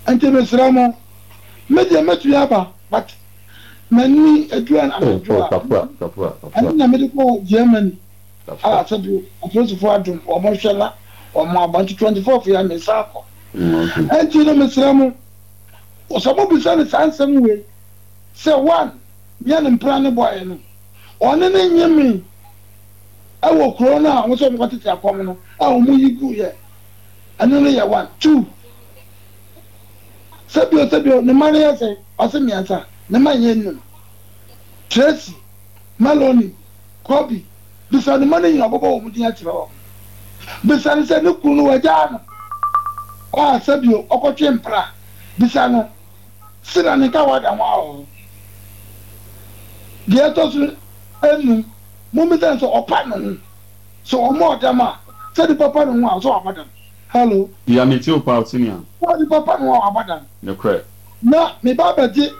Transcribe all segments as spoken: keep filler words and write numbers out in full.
Nti mesrɛ mo, me deɛ mɛtumi aba, but m'ani aduru anadwo a ɛno na mede kɔɔ Germany a sɛbi apolisifoɔ adom wɔn hwɛ na wɔn aba, nti twenty fourth yɛ mesan akɔ. Nti no mesrɛ mo, sɛ mobisa no saa nsɛm wei sɛ one nyɛ ne mpena ne bɔeɛ no, ɔne ne nye me ɛwɔ kuro no a wɔn sɛ wɔn kɔtete akɔm no a wɔn yi gu yɛ ɛno no yɛ one. Two, sɛbio sɛbio ne mma no yɛ sɛ ɔse mmiɛnsa, ne mma nyɛ nnum, Tracy, Melanie, Kobe. Bisa ne mma no nyina, ɔbɛbɔ wɔn din akyerɛ wɔn. Bisa no sɛ ne kunu no wagyaa no a sɛbio ɔkɔtwe mpra. Bisa no sena ne nka wada ho ahɔho. Deɛ ɛtɔ so enum, mommisa no sɛ ɔpa ne ho, sɛ ɔmmɔ ɔdam a, sɛ nipa pa ne ho a, sɛ wabɔ dam. Hello. Ya, me tie wo paa, senior. Sɛ nipa pa ne ho a, wabɔ dam. Nokorɛ. Na me ba bɛgye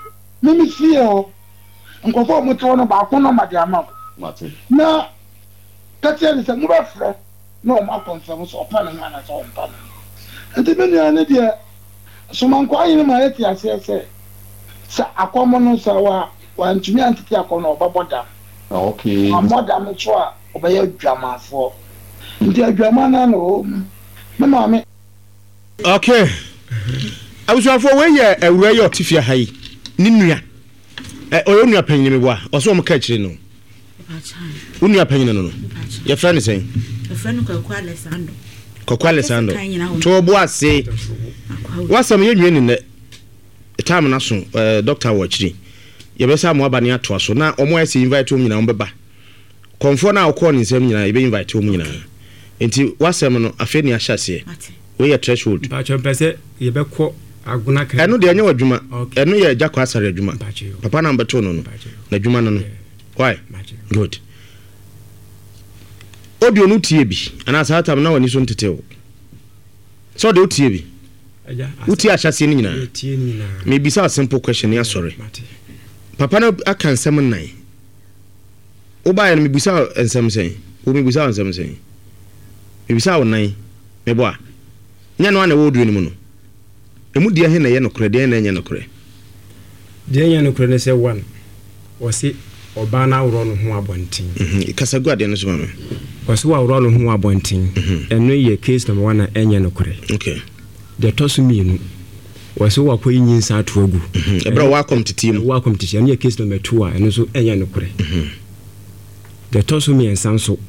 me me fie hɔ nkurɔfoɔ a wɔte hɔ no baako nɔma de ama wo. Mate. Na ka kyerɛ no sɛ mobɛfrɛ na wɔn akɔnfɛm sɛ ɔpa ne ho anaasɛ ɔmpa ne ho. Nti me nua no deɛ, Somankwaa hene ma yɛte aseɛ sɛ sɛ akɔm no sɛ wa wantumi antete akɔm no, ɔbɛbɔ dam. Okay. Wammɔ dam nso a, ɔbɛyɛ adwamanfoɔ. Nti adwaman no na ɔwɔ mu. Me maame. Okay. Abusuafoɔ, wei yɛ awura yi a ɔte fie ha yi ne nua. Ɛ ɔyɛ nua panyin mi boa. Ɔsɛ wɔn ka akyire no. Wo nua panyin no no. Yɛfrɛ no sɛn? Yɛfrɛ no Kwaku Alessandro. Kwaku Alessandro. To ɔbo ase. Wasɛm yɛ nwie ne nnɛ. Time na so ɛɛ doctor wɔ akyiri. Yɛbɛsa mo aba ne atoa so na wɔn a ɛsɛ invite wɔn nyinaa wɔn bɛba. Kɔnfoɔ no a ɔkɔɔ ne nsɛm nyinaa yɛbɛ invite wɔn nyinaa. Nti wasɛm no afei ne ahyɛ aseɛ. Wei yɛ threshold. Mpakyɛ, mpɛ sɛ yɛbɛkɔ Agona kan. Ɛno deɛ ɛnyɛ w'adwuma. Ɛno yɛ Gyakɔ Asare adwuma. Papa na mbɛtoo no no. N'adwuma no no. Why? Good. Audio no tie bi anaa saa tam na w'ani so ntete o. Sɛ ɔde wotie bi. Wotie ahyɛseɛ no nyinaa. Mebisa a simple question ne asɔre. Papa no aka nsɛm nnan. Wobaeɛ no mebisa nsɛm sɛn? Wo mebisa nsɛm sɛn? Mebisa wo nan. Mebɔ a. Nyɛ no a na ɛwɔ audio no mu no. Emu deɛ he na ɛyɛ nokorɛ, deɛ na ɛnyɛ nokorɛ? Deɛ ɛnyɛ nokorɛ ne sɛ, one, ɔse ɔbaa no aworɔ ne ho abɔnten. Kasa gu adeɛ no so ma me. Ɔse waworɔ ne ho abɔnten. Ɛno yɛ case number one a ɛnyɛ nokorɛ. Okay. Deɛ ɛtɔ so mmienu, ɔse wakɔyi nyinsa ato agu. Ɛberɛ a wɔakɔm teteɛ mu. Ɛwɔ akɔm teteɛ, ɛno yɛ case number two a ɛno nso ɛnyɛ nokorɛ. Deɛ ɛtɔ so mmiɛnsa nso,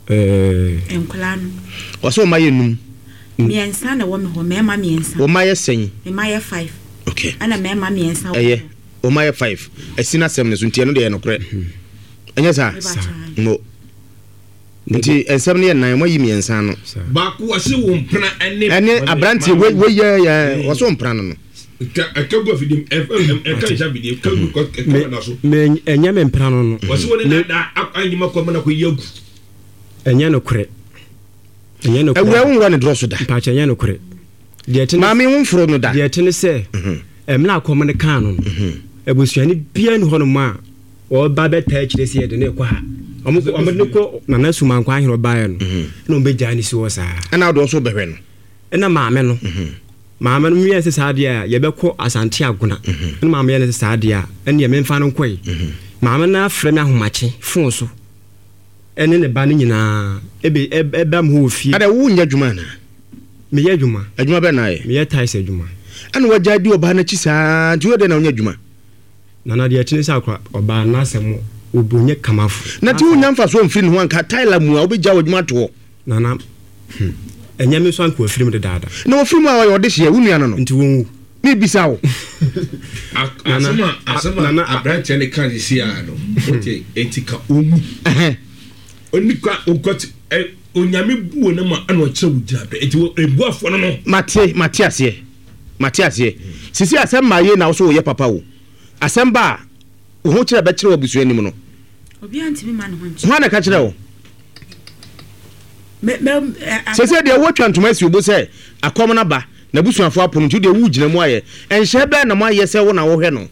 ɛɛ. Nkwadaa no. Ɔse wɔn ayɛ num. Mmiɛnsa na ɛwɔ me hɔ, mmarima mmiɛnsa. Wɔn ayɛ sɛn? Mma yɛ five. Okay. Ɛna mmarima mmiɛnsa wɔ Ɛyɛ. Wɔn ayɛ five. Ɛsi n'asɛm no so nti ɛno deɛ ɛyɛ nokorɛ. Ɛnyɛ saa? Mo. Nti nsɛm no yɛ nnan, wɔn ayi mmiɛnsa ano. Baako wɔsi wo mpena ɛne. Ɛne aberanteɛ wei wei yɛ yɛ wɔsi wo mpena no no. Ɛka gu afidie mu, ɛka nhyɛ afidie mu, ɛka gu ɛka na so. Mɛ ɛnyɛ me mpena no no. Wɔsi wo ne dada anyima kɔ mana kɔ yi agu. Ɛnyɛ nokorɛ. Ɛnyɛ nokorɛ. Awura wo nwura ne dorɔ so da. Mpakyɛ, ɛnyɛ nokorɛ. Deɛ ɛte ne. Maame, wo mforo no da. Deɛ ɛte ne sɛ, ɛmuna akɔm ne kan no no, abusuani biara ni hɔnom a ɔba bɛtaa akyire sɛ yɛde ne kɔ ha. Ɔmo ɔmo de ne kɔ Nana Sumankwa ahene ɔbaeɛ no, ɛna ɔmo bɛgyaa ne si hɔ saa. Ɛna ɔde ɔso bɛhwɛ no. Ɛna maame no, maame no meyɛ sɛ saa deɛ a yɛbɛkɔ Asante Agona. Ɛna maame yɛ no sɛ saa deɛ a ɛneɛ memfa no nkɔe. Maame no afrɛ me ahomakye phone so. Ɛne ne ba no nyinaa ebe ɛba mu hɔ wɔ fie. Ada, wo nyɛ adwuma anaa? Meyɛ adwuma. Adwuma bɛn na ayɛ? Meyɛ tiles adwuma. Ɛna wagya di ɔbaa n'akyi saa nti woyɛ dɛn na wonya adwuma? Nana, deɛ ɛkyene sɛ akora ɔbaa n'asɛm obu nyɛ kamafo. Na ti wonya mfasoɔ mfiri ne ho anka tile mu a wobɛgya w'adwuma ato hɔ. Nana, hmm, ɛnyɛ me nso anka wafiri mu dedaada. Na wafiri mu a ɔyɛ ɔdehyeɛ, wo nua no no. Nti wɔnwu. Mebisa wo. Asɛm a asɛm a aberanteɛ no ka sisi a no, wote enti ka ɔmu. Onipa okɔte Onyame bu wo ne ma ɛna ɔkyerɛ wo gyina bɛ enti ebuafoɔ no no. Mate, mate aseɛ, mate aseɛ. Sisi asɛm maa yie na wo so woyɛ papa o. Asɛm ba a, wo ho kyerɛ bɛkyerɛ wɔ abusua anim no. Obiara ntumi ma ne ho nkyerɛ. Hwan na ɛka kyerɛ wo? Sese deɛ wotwa ntoma asi wo bo sɛ akɔm no aba, n'abusuafoɔ apo no nti wodeɛ wogyina mu ayɛ. Nhyɛ bɛn na moayɛ sɛ wo na wohwɛ no?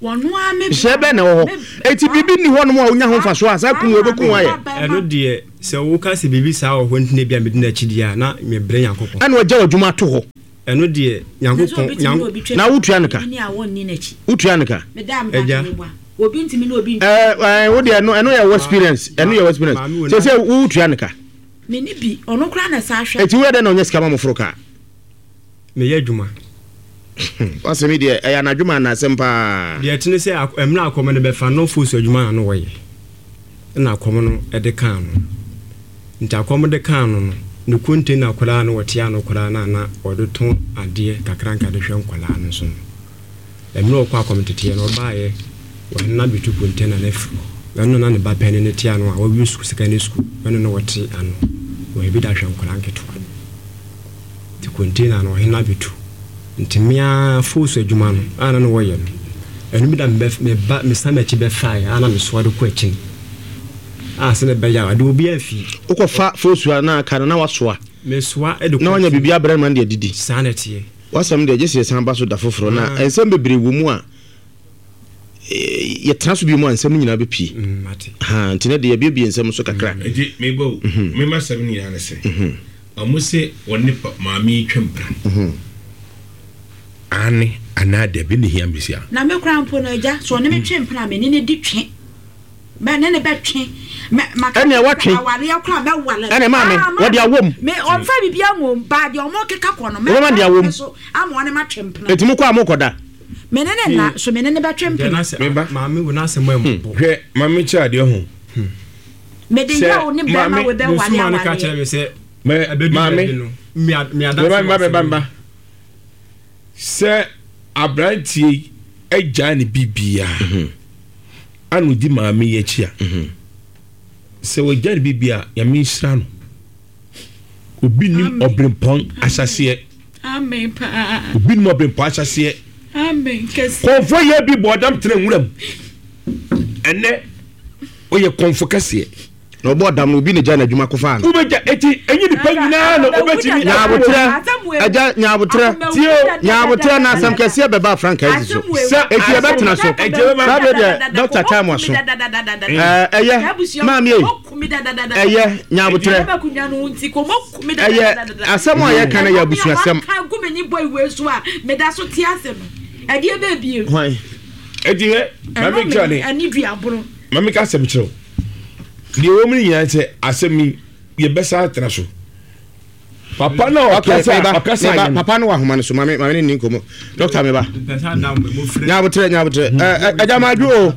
Nhyɛ bɛn na ɛwɔ hɔ? Enti biribi nni hɔnom a wonya ho mfasoɔ a saa kum wei bɛkum wo ayɛ? Ɛno deɛ sɛ woka sɛ biribi saa wɔ hɔ nti na ebia medi n'akyi deɛ a, na mebrɛ Nyankopɔn. Ɛna wagya w'adwuma ato hɔ. Ɛno deɛ Nyankopɔn Nyank. Na wotua no ka? Wotua no ka? Agya. Ɛɛ ɛɛ wo deɛ ɛno ɛno yɛ wo experience ɛno yɛ wo experience sɛ sɛ wotua no ka. Meni bi ɔno koraa na ɛsa ahwɛ. Eti woyɛ dɛ na ɔnyɛ sika ma mo foro kaa? Meyɛ adwuma. W'asɛm yi deɛ ɛyɛ anadwo ma anasɛm paa. Deɛ ɛte ne sɛ mmerɛ a akɔm no bɛfa no Fosu adwuma na na ɔyɛ ɛna akɔm no de kaa no. Nti akɔm de kaa no no, ne container koraa na ɔte ano koraa no a na ɔde tɔn adeɛ kakra nka de hwɛ nkwadaa no so no. Mmerɛ a ɔkɔɔ akɔm teteɛ no ɔbaeɛ ɔhene no abɛtu container no afiri hɔ. Ɛno na na ne ba panin no te ano a wawie sukuu secondary school ɛno na ɔte ano ɔyɛ bi de ahwɛ nkwadaa nketewa no. Nti container no ɔhene no abɛtu. Nti me ara force adwuma no a na na wɔyɛ no, ɛno bi da meba mesan m'akyi bɛfaeɛ a na mesoa de kɔ akyi no a sɛdeɛ ɛbɛyɛ a ade obiara mfii. Wokɔfa force a na aka no na wasoa. Mesoa de kɔ Na wanya akyi. biribi abrɛ no ma no de adidi. Saa na ɛteɛ. W'asɛm deɛ gye sɛ yɛsan ba so da foforɔ na Ah. nsɛm bebree wɔ mu a eh, yɛtena so bio mu a nsɛm no nyinaa bɛpie. Mm, mate. Ha, nti na deɛ yɛabiebie nsɛm so kakra. Nti meba o, me m'asɛm no nyinaa ne sɛ, Ɔmo se wɔne pa maame yi twa mpena. Aane anaa dabi na ehia me sia. Na me koraa mpo no, agya, sɛ ɔne me twe mpena a, me ne no di twe. Mɛ ne no bɛtwe. Mɛ maka Ɛnneɛ kyerɛ woatwe. sɛ awareɛ koraa mɛware. Ɛnneɛ maame, Ah, wɔde maame, awom. me ɔmfa biribiara nwom, baa deɛ ɔmo keka kɔ no, Wobɛma mɛtra de awom. me so ama ɔne matwe mpena. Enti mokɔ a mokɔda? Me ne no nna, so me ne no bɛtwe Deɛ mpena. na sɛ Me ba. maame wo n'asɛm a ɛmmɔbɔ. Hwɛ, ma menkyerɛ adeɛ ho. Mede Sɛ yaw ne bɛrima maame. wei bɛware Mesoma no ka awareɛ. kyerɛ me sɛ Mɛ ɛbɛdu maame. baabi no, me a- me Meba adanse wɔ meba meba asɛm meba. yi. Sɛ aberanteɛ yi agyaa ne biribiara ana ɔdi maame yi akyi a, sɛ wagya ne biribiara a, Nyame nhyira no. Obi nim Amen. ɔbrempɔn ahyɛseɛ. Amen paa. Obi nim ɔbrempɔn ahyɛseɛ. Amen kɛse. Kɔmfoɔ yɛ bi bɔ ɔdam tena nwura mu. Ɛnɛ ɔyɛ kɔmfo kɛseɛ. Na ɔbɔɔ dam no, obi na gyaa n'adwuma kɔfaa no. Wobɛgya eti enyi nipa nyinaa na obetumi. Nyaabotrɛ, agya nyaabotrɛ, Tie o. Nyaabotrɛ na asɛm kɛseɛ bɛba frankaa yi so. Sɛ Eti yɛbɛtena so. Saa bere deɛ Doctor time aso. Ɛɛ ɛyɛ maame ei, ɛyɛ nyaabotrɛ. Ɛyɛ asɛm a yɛka no yɛ abusuasɛm. Hwan? Eti hɛ, maame kyerɛ ne. Maame ka asɛm kyerɛ wo. Deɛ ɛwɔ mu no nyinaa sɛ asɛm yi yɛbɛsa atena so. Papa no a ɔkasa ɔkasa yɛ no. Papa no wɔ ahoma no so maame maame ne ni nkɔmɔ. Dɔkta meba. Nyabotrɛ nyabotrɛ. Ɛɛ ɛgya maa dwo o.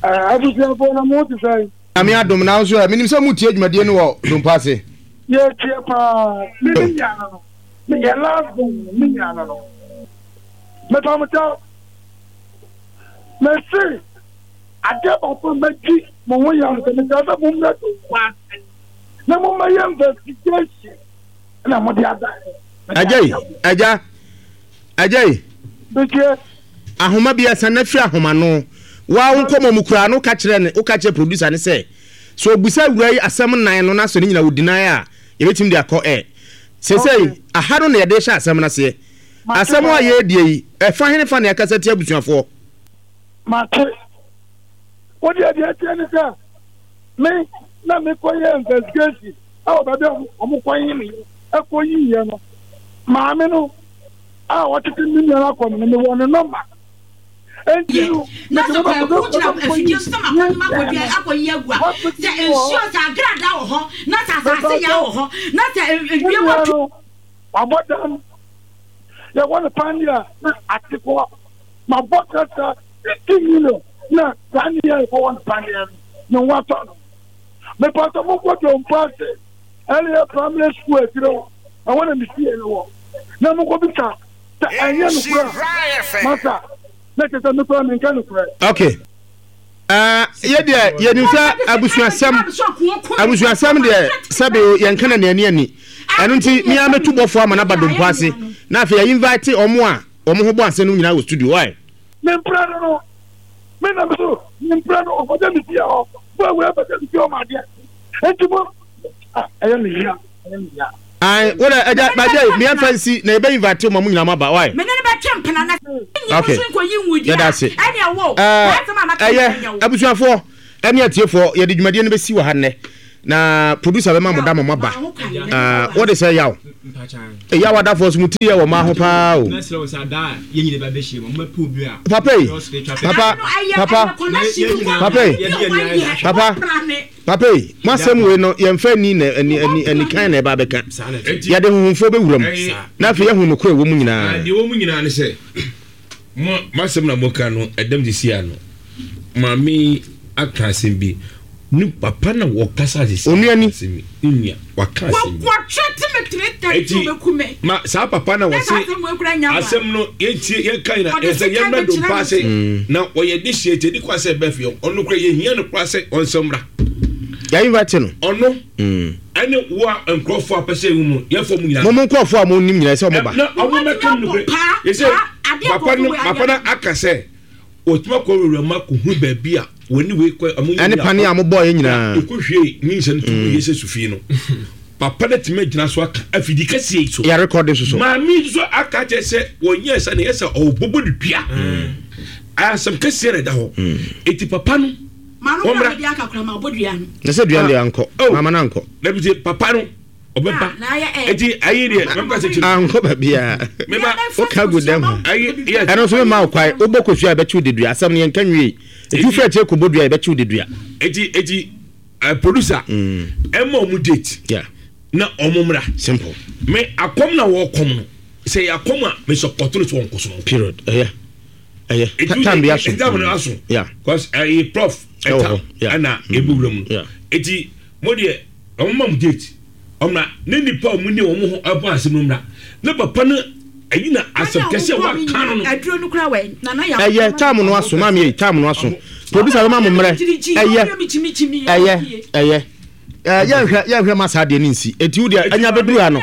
Abusuafoɔ na mo te sɛn? Nyame adom na nso ɛ menim sɛ mo tie dwumadie no wɔ Dompo ase. Yɛtie paa. Me me nua no no. Me yɛ last born no me nua no no. Mepa mo kyɛw. Mese. Adeɛ baako a mɛdi mo ho yaw ne sɛ mesrɛ sɛ mommrɛ Donkor ase na mommɛyɛ investigation na mode aba. Agya yi, agya, agya yi. Metie. Ahoma bi asan na firi ahoma no. Waa wo nkɔmmɔ mu koraa no woka kyerɛ ne woka kyerɛ producer ne sɛ sɛ ɔbusa awura yi asɛm nnan no na sɛ ne nyina wɔ deny a yɛbɛtumi de akɔ ɛ. Seesei aha no na yɛde hyɛ asɛm no aseɛ. Asɛm a yɛredie yi ɛfa hene fa na yɛakasa tia abusuafoɔ? Mate. Wo deɛ deɛ ɛteɛ ne sɛ me na mekɔyɛ investigation ɛwɔ baabi a wɔn kɔyi me ɛkɔyi yɛ no maame no a ɔtete me nua no akɔ no mewɔ ne nɔmba enti no na sɛ kwaku gyina afidie so sɛ makɔnom akɔdua akɔyi agu a sɛ nsuo sɛ agradaa wɔ hɔ na sɛ asase yaa wɔ hɔ na sɛ wiem atu wabɔ dam yɛwɔ no pandeɛ a na ate kɔ mabɔ kasa fifty million na saa ne yɛ ɛkɔwɔ no paneɛ no ne ho atɔ no mepatɔ monkɔ dompo ase ɛleyɛ primary school akyire hɔ ɛhɔ na mesie no wɔ na monkɔ bisa sɛ ɛnyɛ nokorɛ a masa na kyɛ sɛ mekora menka nokorɛ. Okay. Uh, yɛ deɛ yɛnim sɛ abusuasɛm abusuasɛm deɛ sɛbe yɛnka na neani ani ɛno nti mea mɛtu bɔfoɔ ama no aba dompo ase na afei yɛ invite ɔmo a wɔn ho bɔ ase no nyinaa wɔ studio why. Me mpira no no me na me so me mpira no ɔkɔgye me fie hɔ bo awura bɛgye me fie hɔ ma adeɛ nti mo ah ɛyɛ me ya ɛyɛ me ya. Ayi wo dɛ ɛgya bàjẹ́ yi miɛ nfa nsi na ebe invite mo mo nyinaa mo aba why. Me ne no bɛtwe mpena na nyi Okay no so nkɔyi nwudua yɛda ase ɛne ɛwɔ ɛɛ saa asɛm a maka ɛyɛ nyɛ wo. abusuafoɔ ɛne atiefoɔ yɛde dwumadie no bɛsi wɔ ha nnɛ. Na producer bɛma mo da ma mo aba. Wɔde sɛ yaw. Yaw adafoɔ so mo ti yɛ wɔ maa ho paa o. Papa yi, papa, papa, papa yi, papa, papa yi, mo asɛm wei no yɛmfa ani na ani ani ani kan na ɛba abɛka. Yɛde honhomfoɔ bɛwura mu na afei yɛahu nokorɛ ɛwɔ mu nyinaa. Deɛ ɛwɔ mu nyinaa ne sɛ mo asɛm na moka no ɛdɛm sisi ano. Maame aka asɛm bi. Ne papa na wɔkasa sisi. Onua ni. Ne nua waka asɛm bi. Eti ma saa papa na wɔse asɛm no yɛntie yɛnka nyina ɛsɛ yɛmmra dompa ase na wɔyɛ de hyɛ eti kwa sɛ ɛbɛ fie ɔno kora yɛhia no kora sɛ ɔnsɛm mmra. Yɛ invite no. Ɔno ɛne wo a nkurɔfoɔ a pɛ sɛ ewu mu yɛfɔ mu nyinaa. Mo mo nkurɔfoɔ a mo nim nyinaa sɛ ɔmo ba. Na ɔmo mɛka mu no yɛsɛ papa no papa no aka sɛ wɔtumi akɔ wura mu akɔhu baabi a wɔne wei kɔ ɔmo ɛne pane a mobɔɔ yɛ nyinaa ɛkɔhwie nyinsɛn no tugu yɛ sɛ sufii no papa no tumi agyina so aka afidi kɛseɛ yi so yɛ rekɔde so so maame yi nso aka kyerɛ sɛ wɔnyɛ sɛ ne yɛ sɛ ɔbɔbɔ ne dua asɛm kɛseɛ na ɛda hɔ eti papa no wɔmmra na sɛ dua deɛ ankɔ maama no ankɔ dabi sɛ papa no ɔbɛba eti ayi deɛ mɛka sɛ kyerɛ ankɔ baabiara woka gu dɛm ho ɛno nso mema wo kwae wobɔ kosua a ɛbɛkyew de dua asɛm no yɛnka nwie eti wofiri akyire kɔbɔ dua a yɛbɛkyew de dua eti eti producer ɛma ɔmo date na ɔmo mmra simple me akɔm na wɔkɔm no sɛ yɛ akɔm a me support no so wɔn kɔ so period ɛyɛ ɛyɛ time bi aso time no aso cause ɛyɛ prof ɛta ɛna ebi wura mu eti mo deɛ ɔmo ma mo date ɔmra ne nipa ɔmo ne ɔmo ho ɛbɔ asɛm no mra ne papa no ɛyi na asɛm kɛse a waka no no. Ɛyɛ time no aso maame yi time no aso producer bɛma mo mmerɛ ɛyɛ ɛyɛ ɛyɛ yɛnhwɛ yɛnhwɛ ma saa deɛ ne nsi eti wo deɛ anya bɛduru ha no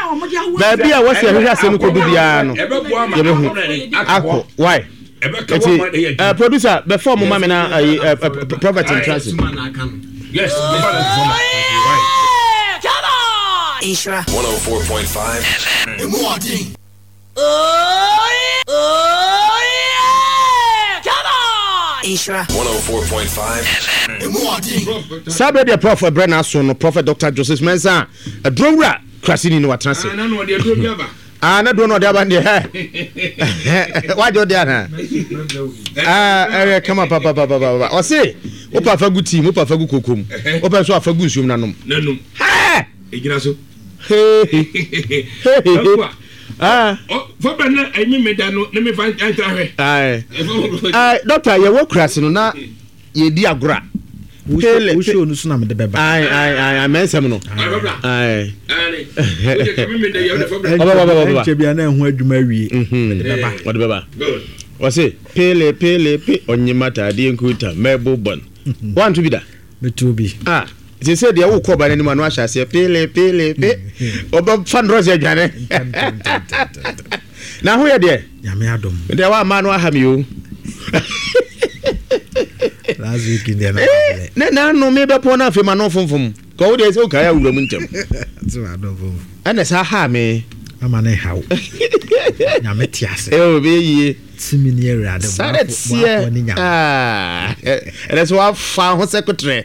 baabi a wɔsi ɛhwehwɛ asɛm no kɔdu biara no yɛbɛhu akɔ why eti uh, producer bɛfɔ mo ma mi na ayi uh, prophet in transit. Yes. Ishra one oh four point five F M. Oh yeah. Oh yeah. Come on. Ishra one oh four point five F M. Sabre the prophet Brenna so no Prophet Doctor Joseph Mensah a drowra krasini no atrase. Ah na no de dro bi aba. Ah na dro no de aba de he. Wa jo de ana. Ah eh come up papa papa papa. O se wo pa fa gu team, wo pa fa gu kokom. Wo pa so afa gu nsuom nanom. Nanom. He. Egyina so. He. He. Ah. Fabra na emi me da no na me fa ntra hwe. Ai. Ai doctor ye wo krase no na ye di agora. Pele wo show no so na me de beba. Ai ai ai ai mensem no. Ai. Ai. Wo de me me da ye wo de fabra. Oba oba oba. Enche bia na hu adwuma wie. Mhm. De beba. Wo de beba. Wo se pele pele pe onyima tade nkuta mebo bon. Want to be da? Me to bi. Ah. They said they will call by anyone wash as pele pele pe. Oba fan rose adwane. Na ho ye de? Nyame adom. De wa ma no aha mi o. Last week in there na. Ne na no me be pon na afi ma no fomfom. Ko wo de se o kai awura mu ntem. So adom fomfom. Ene sa ha me. Ama ne hawo. Nyame te ase. Eh o be yie. Timi ni awurade. Sare tie. Ah. Ene so wa fa ho sekotre.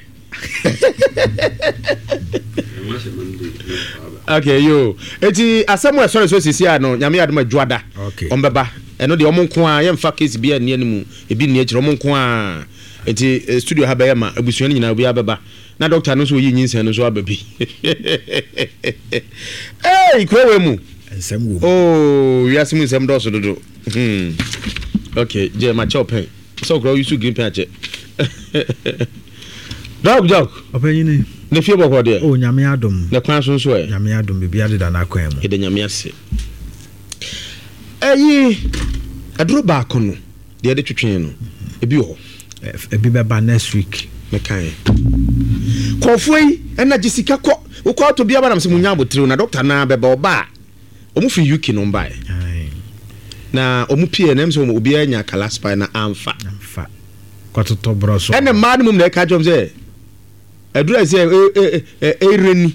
Okay, yo. Eti asɛm a ɛsɔre so sisi a no nyame adom adwuada. Ɔmbɛba. Ɛno deɛ ɔmo nko a yɛmfa case bi a nni anim ebi nni akyire ɔmo nko a. Eti studio ha bɛyɛ ma abusua no nyinaa obi abɛba. Na doctor no nso oyi nyinsɛn no nso aba bi. Hey, kuro wei mu. Nsɛm wɔ mu. Oh, wiase mu nsɛm dɔɔso dodo. Hmm. Okay, gye ma kyɛw pɛn. Sɛ okura oyi so green pen akyɛ. Dɔk dɔk. Ɔpɛnyini. Ne fie bɔkɔ deɛ. O nyame adom. Ne kwan so nso ɛ. Nyame adom bibi adeda n'akwan mu. Yɛda nyame ase. Ɛyi aduro baako no deɛ yɛde twetwe no ebi wɔ hɔ. Ebi bɛba next week. Mekae. Kɔɔfoɔ yi ɛna gye sika kɔ wokɔ ato bi aba nam sɛ munya abotire na dɔkta naa bɛba ɔba a ɔmo firi U K no mbae. Na ɔmo pie na ɛm sɛ obiara nya kalaspa na amfa. Amfa. Kɔtotɔ borɔ so. Ɛna mmaa no mom na ɛka kyerɛ sɛ aduru a sɛ ɛreni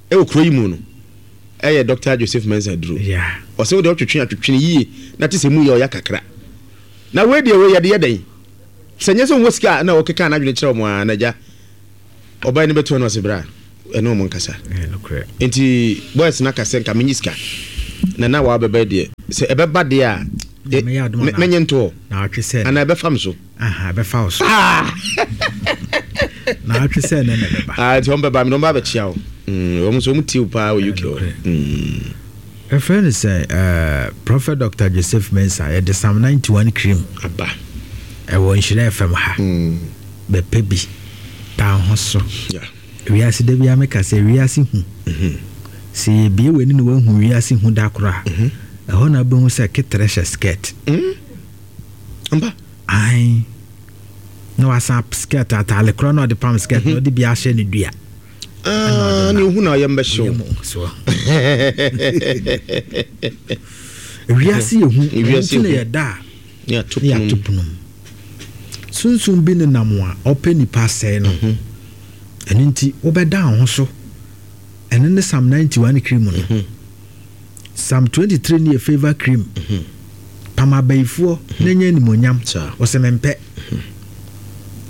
ɛwɔ kuro yi mu no ɛyɛ Doctor Joseph Mensah duro. Ɔsɛ wode ɔtwetwe atwetwe yie na te sɛ mu yɛ ɔya kakra. Na wei deɛ wei yɛde yɛ dɛn? Sɛ nyɛ sɛ wɔn sika na ɔkeka n'adwene kyerɛ wɔn a na gya ɔbaa ni bɛto no ɔsɛ bra. Ɛne ɔmo nkasa. Nti boys na kasɛ nka menyi sika. Na na wa bɛbɛ deɛ. Sɛ ɛbɛba deɛ a menye ntoɔ. Ana ɛbɛfa me so. Aha, ɛbɛfa wo so. Na atwe sɛ ɛnɛ na ɛbɛba. Ah, nti wɔn bɛba mi na wɔn ba abɛkyia wo. Wɔn nso wɔn tie wo paa wɔ U K hɔ. Ɛfrɛ no sɛ uh, Prophet Doctor Joseph Mensah, yɛde Psalm ninety-one cream aba ɛwɔ Nhyira F M ha. Mm. Bɛpɛ bi taa ho so. Yeah. Wiase da bi ameka sɛ wiase hu. Mm-hmm. Sɛ yɛbie w'ani na woahu wiase hu da koro a, mm-hmm. ɛhɔ na wobɛhu sɛ keterɛ hyɛ skirt. Mm. Mba. Ae. Na wasan skirt ataale korɔ na ɔde pam skirt na ɔde bi ahyɛ ne dua. Ah, ne ohu na ɔyɛ mbɛhyew. Wiase yɛ hu, nti na yɛda a ne ato pono mu. Sunsum bi nenam a ɔpɛ nipa asɛe no. Ɛno nti wobɛda wo ho so. Ɛno ne Psalm ninety-one cream no. Psalm twenty-three ne yɛ favor cream. Pam abayifoɔ na nya animuonyam. Ɔsɛ mempɛ.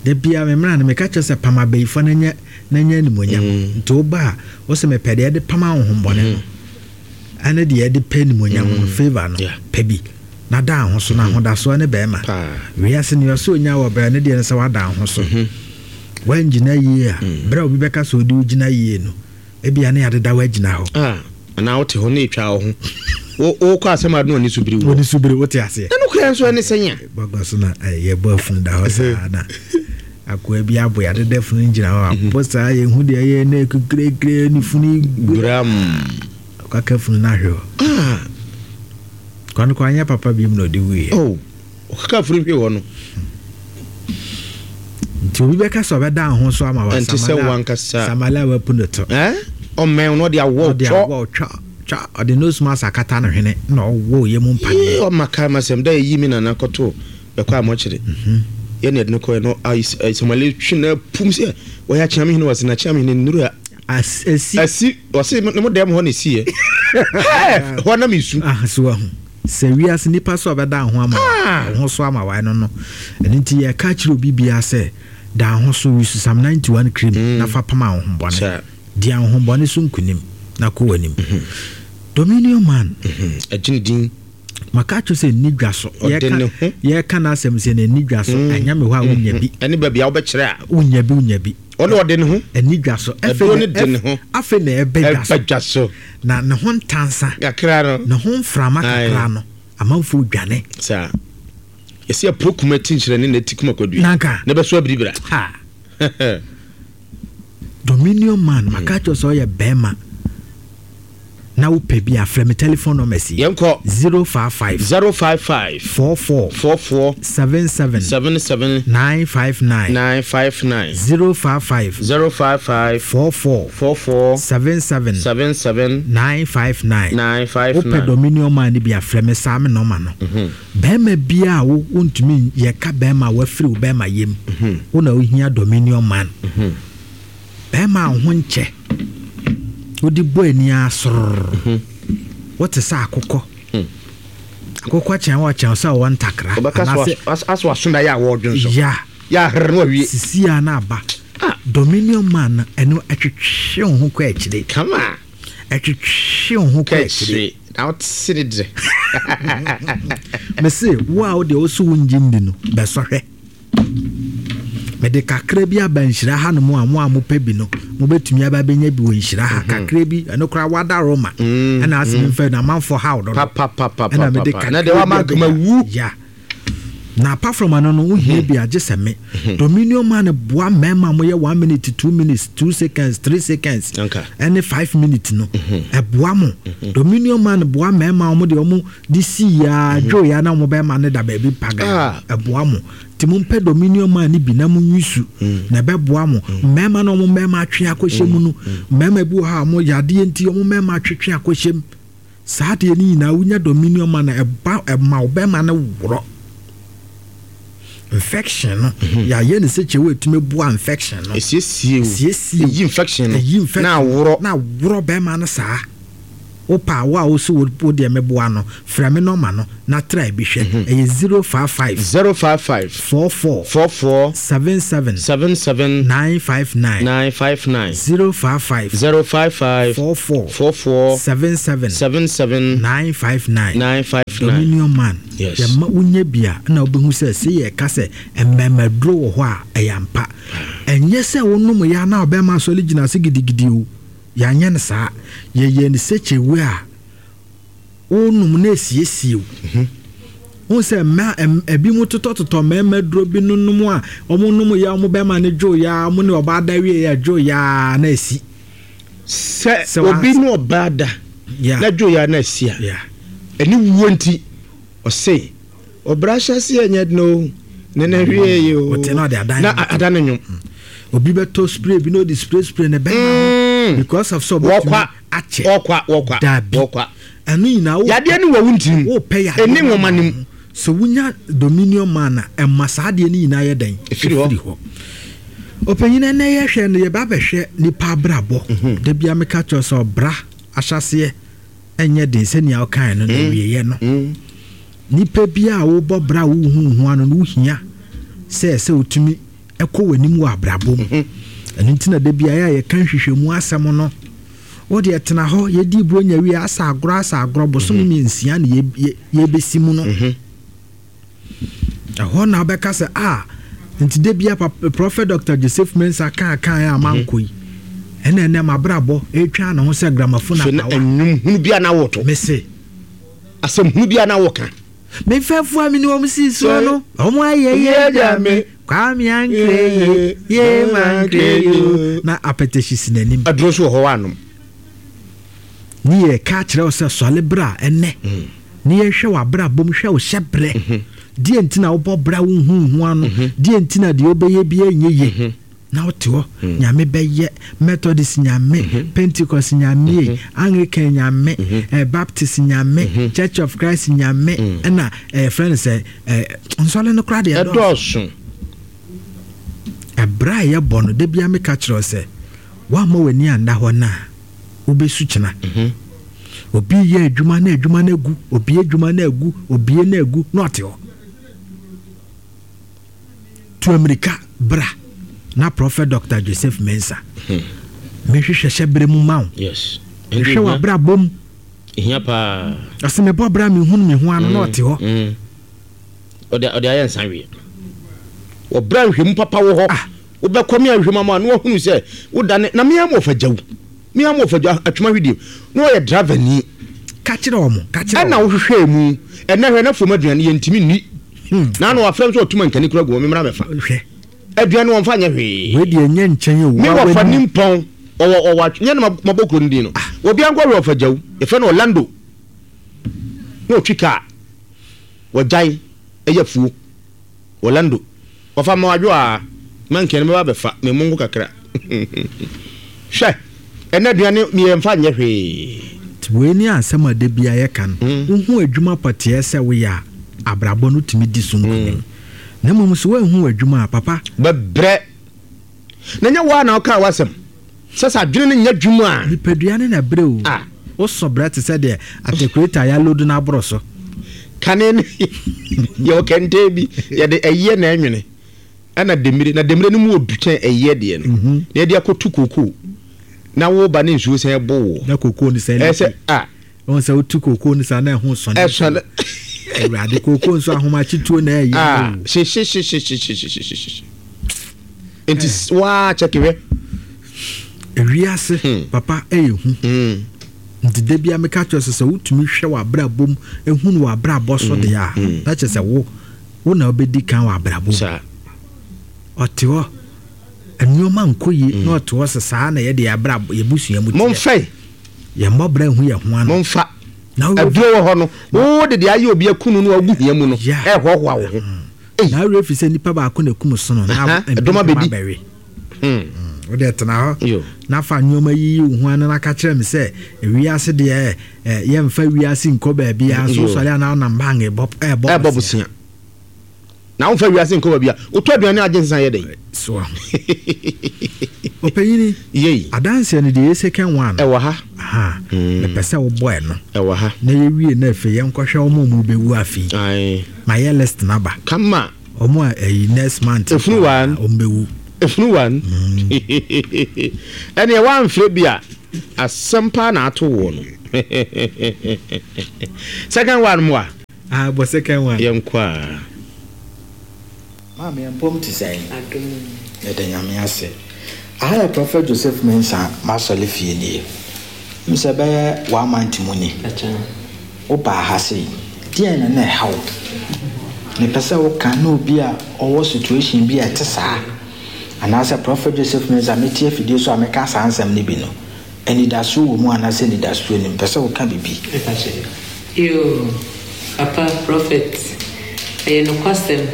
Da bia me mmra no meka kyerɛ sɛ pam abayifoɔ na nya na nya animuonyam. Nti woba a ɔsɛ mepɛ deɛ ɛde pam ahohombɔne no. Ɛne deɛ ɛde pɛ animuonyam no, favor no, pɛ bi. Na da ho so na ahodasoɔ ne bɛrima. Wiase ne ɔsɛ onya wɔ brɛ ne deɛ no sɛ wada ho so. Wangyina yie a, brɛ obi bɛka sɛ ɔde wogyina yie no, ebia ne adeda wagyina hɔ. Ah, anaa wote hɔ na etwa wo ho. Wo wo kɔ asɛm ade no ani so biri wo. Oni so biri wote aseɛ. Na no kura nso ɛne sɛn a. Bagua so na yɛbɔ afunu da hɔ saa na akoa bi abo yɛadeda funu gyina hɔ abɔ saa yɛhu deɛ ɛyɛ na ɛkukurekure ne funu gram. Kaka funu no ahwe hɔ. Ah. Kwan kwan nyɛ papa bi mu na ɔde wuiɛ. Oh, ɔkaka funu hwe hɔ no. Nti obi bɛka sɛ ɔbɛda ho so ama wa Ɛnte sɛ wankasa. Samala wapu no to. Eh? Ɔmmɛn no ɔde awɔ Ɔde twɔ. awɔ twɔ. Twa ɔde nose mask akata no hwene na ɔwɔ yɛ mu mpaneɛ. Yee ɔma kaa ma sɛm da yɛyi me nana kɔto bɛkɔ a mɔkyere. Yɛ ne yɛde no kɔɛ no Samale twe na pum sɛ wɔyɛ akyea me hene wɔse na akyea me hene nnuru a Asi. Asi wɔse ne mo dɛm hɔ na ɛsiiɛ. Hɛɛ hɔ na mesu. Ah so wahu sɛ wiase nipa so ɔbɛda ho ama Ah. ho so ama wae no no. Ɛno nti yɛka kyerɛ obi biara sɛ da ho so use Psalm ninety-one cream Mm. na fa pam ahohombɔne. Sɛ. Di ahohombɔne so nkunim na kɔ w'anim. Dominion man. Ɛgye ne din. Maka kyerɛ sɛ nni dwa so. Ɔde ne ho. Yɛka n'asɛm sɛ n'ani dwa so. Ɛnyɛ me hɔ a wonya bi. Ɛne baabi a wobɛkyerɛ a. Wonya bi, wonya bi. Ɔne ɔde ne ho. Ɛni dwa so. Ɛduro ne de ne ho. Afei na ɛbɛ dwa so. Ɛbɛ dwa so. Na ne ho ntansa. Kakra no. Ne ho mframa kakra no. Amanfoɔ dwane. Saa. Yɛsi apuro kuma ti nhyerɛne na ti kuma kwadua. Nanka. Na ɛbɛso abiribira. Ha. Dominion man, maka kyerɛ sɛ ɔyɛ bɛrima. Na wopɛ bi a frɛ me telephone numbers yi. Yɛnkɔ. zero five five. zero five five. four four. four four. seven seven. seven seven. nine five nine. nine five nine. zero five five. zero five five. four four. four four. seven seven. seven seven. nine five nine. nine five Wopɛ nine. Dominion man ni bi a frɛ me saa me nɔma no. Bɛrima bi a wo wontumi yɛka bɛrima a wafiri wo bɛrima yam. Wo na wohia Dominion man. Bɛrima a wo ho nkyɛ. Wode bɔ ani asoror. Wote sɛ akokɔ. Akokɔ kyɛn wɔ kyɛn sɛ ɔwɔ ntakra. Ɔbɛka so Anaasɛ as-, aso aso na yɛ a wɔdwen so. Ya. Yɛ aherɛ no awie. Sisi a na aba. Ah. Dominion man no, ɛno ɛtwetwe wo ho kɔ akyire. Kama. Ɛtwetwe wo ho kɔ Kɔ akyire. akyire. Na wote se ne dere. Mese, wo a wode wo so wo ngye nni no, bɛsɔhwɛ. Mede kakra bi aba nhyira ha no mu a mo a mopɛ bi no, mobɛtumi aba bɛnya bi wɔ nhyira ha. Mhm. Kakra bi, ɛno koraa wada Roma. Mm, Ɛna asɛm mm. mfa no, amanfoɔ ha wo dodo. Pa, pa, pa, pa, Ɛna pa, mede pa. kakra Na deɛ wama bi nkama abɛnya. wu. Ya. Na apart from ano no, wohia Mhm. bi agye sɛ me. Mhm. Dominion man boa mmarima a moyɛ one minute, two minutes, two seconds, three seconds, Okay. ɛne five minutes no. Mhm. Ɛboa mo. Mhm. Dominion man boa mmarima a wɔn de wɔn de si ya, Mhm. dwo ya na wɔn bɛrima ne da baabi paga. Ah. Ɛboa mo. Nti mompɛ Dominion man ne bi na mo nwisu. Mm. Na ɛbɛboa mo. Mm. Mmarima na wɔn mmarima atwe akɔhyɛ mu no. Mm. Mmarima bi wɔ hɔ a wɔn yadeɛ nti wɔn mmarima atwetwe akɔhyɛ mu. Saa adeɛ no nyinaa wonya Dominion man na ɛba ɛma wo bɛrima no worɔ. Infection no, Mhm. yɛayɛ ne sɛ kyɛw etumi boa infection no. Esiesie o. Esiesie o. Eyi infection no. Eyi infection. Na aworɔ. Na aworɔ bɛrima no saa. Wopɛ a, wo a wose wo deɛ meboa no, frɛ me nɔma no na tra bi hwɛ. Ɛyɛ zero five five. Zero five five. Four four. Four four. Seven seven. Seven seven. Nine five nine. Nine five nine. Zero five five. Zero five five. Four four. Four four. Seven seven. Seven seven. Nine five nine. Nine five nine. Dominion Man. Yes. Yɛma wonya bi a na wobɛhu sɛ sɛ yɛka sɛ mmɛmaduro wɔ hɔ a ɛyɛ ampa. Ɛnyɛ sɛ wonom yɛ a na ɔbɛma asɔre gyina ase gidigidi o. Yɛanyɛ no saa. Yɛyɛ no sɛ kyewe a wonom na esiesie wo. Wohu sɛ mmaa ebi mu totɔtotɔ mmarima duro bi nonom a wɔn nom yɛ wɔn bɛrima no dwo ya wɔn ne ɔbaa da wie yɛ dwo ya na esi. Sɛ obi ne ɔbaa da na dwo ya na esi a ɛne wuo nti ɔse ɔbra hyɛ ase ɛnyɛ den o ne na hwie yi o na ada ne nwom. Obi bɛtɔ spray bi na ɔde spray spray ne bɛrima because of so wɔkwa akyɛ wɔkwa wɔkwa wɔkwa ɛno nyinaa wo yadeɛ ne wɔ wo ntirim wopɛ yadeɛ ɛne nwoma nim so wonya Dominion Man a ɛma saa adeɛ no nyinaa yɛ dɛn ɛfiri hɔ. Ɔpanyin ɛnɛ yɛhwɛ no yɛba bɛhwɛ nipa abrabɔ da bia meka kyerɛ sɛ ɔbra ahyɛseɛ ɛnyɛ den sɛnea ɔkae no na wieɛ no nipa bi a wobɔ bra wohu ho ano no wohia sɛ sɛ wotumi ɛkɔ w'anim wɔ abrabɔ mu. Ɛno nti na da bia yɛ a yɛka nhwehwɛmu asɛm no wode ɛtena hɔ yɛdi buro nya wie asa agorɔ asa agorɔ bosom mmiɛnsia na yɛbɛsi mu no ɛhɔ na wobɛka sɛ a nti da bia Prophet Doctor Joseph Mensah kaa kaa a mankɔ yi ɛna ɛnɛ mabrabɔ ɛtwa ne ho sɛ gramophone apawa ɛnwom hunu bia na wɔto mese asɛm hunu bia na wɔka mefɛfoɔ a mene wɔm sii soɔ no ɔmo ayɛ yɛ gya me Kwame ankre ye mankre yo na apɛtɛhyi si n'anim aduro so wɔ hɔ anom ne yɛ ka kyerɛ wo sɛ sɔle bra ɛnɛ ne yɛhwɛ w'abrabɔ mu hwɛ wo hyɛ brɛ deɛ nti na wobɔ bra wo hu ho ano deɛ nti na deɛ wobɛyɛ biara nyɛ yie na wote hɔ nyame bɛyɛ Methodist nyame Pentecost nyame Anglican nyame Baptist nyame Church of Christ nyame ɛna ɛyɛ no sɛ nsɔle no koraa deɛ ɛdɔɔso. Ɛberɛ a yɛbɔ no da bia meka kyerɛ sɛ woamma w'ani anda hɔ no a wobɛsu kyena. Obi yɛ adwuma na adwuma no agu, obi adwuma no agu, obi no agu na ɔte hɔ. To Amerika bra na Prophet Doctor Joseph Mensah. Mehwehwɛ hyɛ bere mu ma wo. Yes. Hwɛ w'abrabɔ mu. Ehia paa. Ɔsɛ mebɔ bra mehunu me ho ano na ɔte hɔ. Ɔde ɔde ayɛ nsa wie. Ɔbra nhwɛmu papa wɔ hɔ. Wobɛkɔ me ahwɛmu ama na wahunu sɛ wodane na me am ɔfa gyaw. Me am ɔfa gyaw atwema hwedie. Na ɔyɛ driver ni. Ka kyerɛ ɔmo, ka kyerɛ. Ɛna wohwehwɛ mu. Ɛna hwɛ na fom aduane yɛntimi nni. Na na wafrɛ m sɛ ɔtuma nkani kura gu me mmra mɛfa. Hwɛ. Aduane wɔmfa nyɛ hwee. Wei deɛ nyɛ nkyɛn o. Me wɔfa nimpɔn. Ɔwɔ ɔwɔ nyɛ na mabɔ kuro no din no. Obi ankɔ hwɛ ɔfa gyaw. Yɛfrɛ no Orlando. Na ɔtwi kaa. Wɔgyae ɛyɛ fuo. Orlando. Wɔfa ma wadwo a mankan no bɛba bɛfa me mongo kakra. Hwɛ. Ɛna aduane mmiɛmfa nyɛ hwee. Wei ne asɛm a da bia yɛka no. Wohu adwuma pɔteɛ sɛ woyɛ a abrabɔ no tumi di so nkonim. Na mmom sɛ woanhu adwuma a papa bɛbrɛ. Na nyɛ wo a na wokaa w'asɛm sɛ sɛ adwene no nyɛ adwuma a nipadua ne na brɛ o. Wosɔ brɛ te sɛ deɛ atekureta ya load no aboro so. Kane no yɛwɔ kɛntɛn bi yɛde ɛyɛ na ɛnwene ɛna demire na demire no mu odu kyɛn ɛyɛ deɛ no na yɛde akɔtu kokoo na wo ba ne nsuo sɛn ɛbɔ wo na kokoo no sɛn ɛsɛ a wɔn sɛ wotu kokoo no saa na ɛho sɔne ɛsɔne Awurade kokoo nso ahomakyetuo na ɛyɛ ah hyehyehyehyehyehyehye nti waa kyɛke hwɛ ewiase papa ɛyɛ hu nti da bia meka kyerɛ sɛ sɛ wotumi hwɛ w'abrabɔ mu ehunu w'abrabɔ so deɛ a na kyerɛ sɛ wo wo na wobɛdi kan wɔ abrabɔ mu ɔte hɔ nneɛma nkɔ yie na ɔte hɔ sɛ saa na yɛde abrabɔ yɛbusua mu teɛ momfɛ yɛmmɔ brɛ hu yɛ ho ano momfa aduro wɔ hɔ no wo de deɛ ayɛ obi akunu no agu hia mu no ɛhoahoa wo ho na awerɛ fi sɛ nipa baako na kum sono na ɛdɔm abɛdi wo de tena hɔ na fa nneɛma yiyi wo ho ano na ka kyerɛ me sɛ ewiase deɛ yɛmfa wiase nkɔ baabi a so sɔre anaa nam bang ɛbɔ ɛbɔ bosia Na womfa wiase nkɔ baabi a wotɔ aduane agye nsa yɛ dɛn? So aho. Ɔpanyini. Yei. Adanseɛ no deɛ yɛ second one. Ɛwɔ ha. Aha. Mepɛ sɛ wobɔ ɛno. Ɛwɔ ha. Na yɛwie na afei yɛnkɔhwɛ wɔn a wɔbɛwu afei. Ae. Ma yɛ list no aba. Kama. Wɔn a ɛyi next month. Efunu one. Wɔn bɛwu. Efunu one. Ɛneɛ woamfrɛ bi a asɛm paa na ato woɔ no. Second one moa. Ah, bɔ second one. Yɛnkɔ a. Maame yɛn mpom te sɛn? Adom mu. Yɛda Nyame ase. Aha yɛ Prophet Joseph Mensah m'asɔre fie nie. Wonim sɛ bɛyɛ one month mu ni wo baa ha sei. Deɛn na na ɛha wo? Mepɛ sɛ wo ka na obi a ɔwɔ situation bi a ɛte saa anaasɛ Prophet Joseph Mensah mete afidie so a meka saa nsɛm no bi no, anidasoɔ wɔ mu anaasɛ anidasoɔ nnim? Mepɛ sɛ wo ka biribi. Mepakyɛ yoo papa prophet ɛyɛ nokwasɛm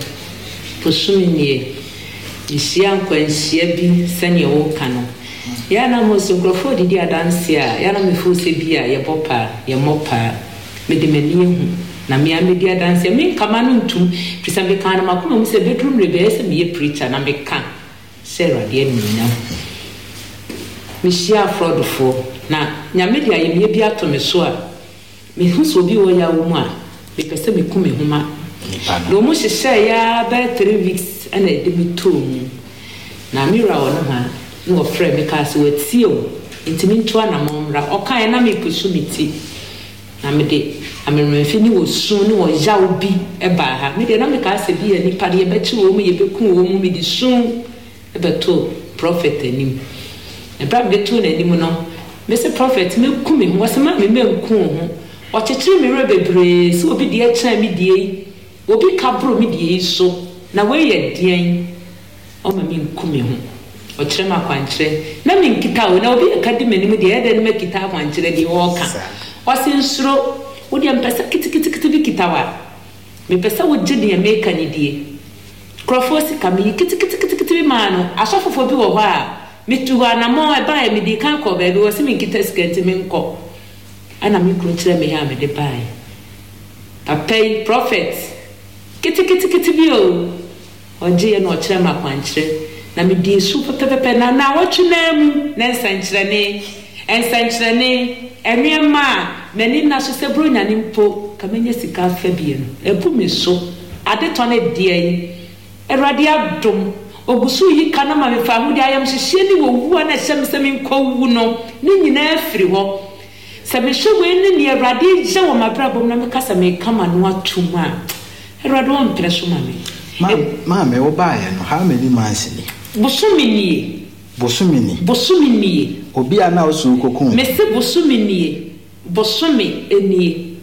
bosome nie mehyia nkwanhyia bi sɛdeɛ woka no yɛ a na mo so nkurɔfoɔ redidi adanseɛ a yɛ a na me feel sɛ bi a yɛbɔ paa yɛmmɔ paa mede m'ani ahu na me ara mɛdi adanseɛ menka m'ano ntom firi sɛ mekaa no m'akoma mu sɛ bɛduru mmerɛ bi ɛyɛ sɛ meyɛ preacher na meka hyɛ Awurade animuonyam. Mehyia afrɔdofoɔ, na Nyame de ayamyɛ bi ato me so a, mehu sɛ obi wɔ yaw mu a, mepɛ sɛ meku me ho ma no. Wɔn hyehyɛeɛ ara bɛyɛ three weeks na ɛde me too mu. Na me wura wɔ nohoa na ɔfrɛɛ me kaa sɛ watie o, nti mentu anamɔn mmra. Ɔkaeɛ na merepusu me ti, na mede amemenemfe ne osu ne ɔyaw bi baa ha. Me deɛ na mekaa sɛ bi a nnipa no yɛbɛkye wɔn, yɛbɛku wɔn, mede su bɛtoo prɔfɛt anim. Na berɛ a mede too n'anim no, mese, Prɔfɛt, mɛku me ho. Ɔse, Maame, mɛnku wo ho. Ɔkyekyere me werɛ bebree sɛ obi deɛ kyɛn me deɛ yi, obi ka boro me deɛ yi so, na wei yɛ deɛn? Ɔma menku me ho. Ɔkyerɛ me akwankyerɛ. Na menkita o, na obi reka di m'anim deɛ, ɛyɛ dɛn na makita akwankyerɛ deɛ ɔreka? Ɔse, Nsuro, wo deɛ mepɛ sɛ keteketekete bi kita wo a, mepɛ sɛ wogye deɛ meka no die. Nkurɔfoɔ sika, meyi keteketekete bi maa no. Asɔfofoɔ bi wɔ hɔ a, metuu hɔ anammɔn, ɛbaeɛ, medii kan kɔɔ baabi, wɔse menkita sika nti menkɔ. Ɛna me kunu kyerɛɛ me yɛ a mede baeɛ. Papa yi, prɔfɛt, keteketekete bi o, ɔgyeeɛ na ɔkyerɛɛ me akwankyerɛ, na medii so pɛpɛpɛpɛ, na nnawɔtwe no ara mu, na nsɛnkyerɛnne, nsɛnkyerɛnne, nneɛma a m'ani nna so sɛ Buronya no mpo, ka mɛnya sika afa bi no, abu me so. Adetɔ no deɛn? Awurade adom, ɔgu so reyi ka no ma me fawohodie, ayamhyehyeɛ ne owu a na ɛhyɛ me sɛ menkɔwu no, ne nyinaa afiri hɔ. Sɛ mehwɛ wei ne nea Awurade reyɛ wɔ m'abrabɔ mu na meka sɛ mereka m'ano atom a, Awurade ɔmpene so ma me. Maame, wobaeɛ no, how many months ni? Bosome nie. Bosome ni. Bosome nie. Obi a na ɔsɛ wokɔku no. Mese bosome nie. Bosome nie.